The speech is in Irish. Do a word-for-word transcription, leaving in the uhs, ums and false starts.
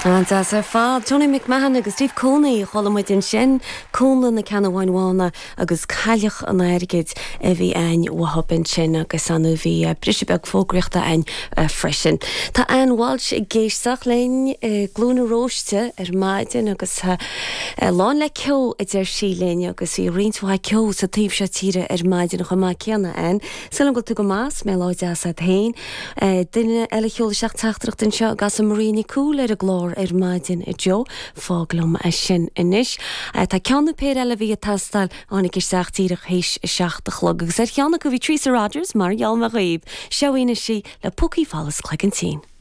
An-deas ar fad Tony McMahon agus Steve Coney chuala muid ansin Cónla na Ceannabháin Bhána agus Cailleach an Airgid a bhí againn uathub ansin agus ann bhí briseadh beag fógraíochta againn freisin. Tá Ann Walsh ag éisteacht linn Glún na Róiste ar maidin agus lán le ceo a deir sí linn agus bhí roinnt mhaith ceo sa taobh seo tíre ar maidin chomh maith céanna ann. Súil agam go bhfuil tú go maith mé lá deas féin. Duine eile sheol isteach teachtaireacht anseo gas an Marie Nicúil ar an gclár ar maidin a Joe fág liom é sin anois. Tá ceann péire eile bhí ag teastáil tháinig isteach díreach théis a seacht a chlog agus ar cheann acu bhí Teresa Rogers mar gheall mar dhaoib, seoína sí le Púcaí Folamh Cloigeann Tinn.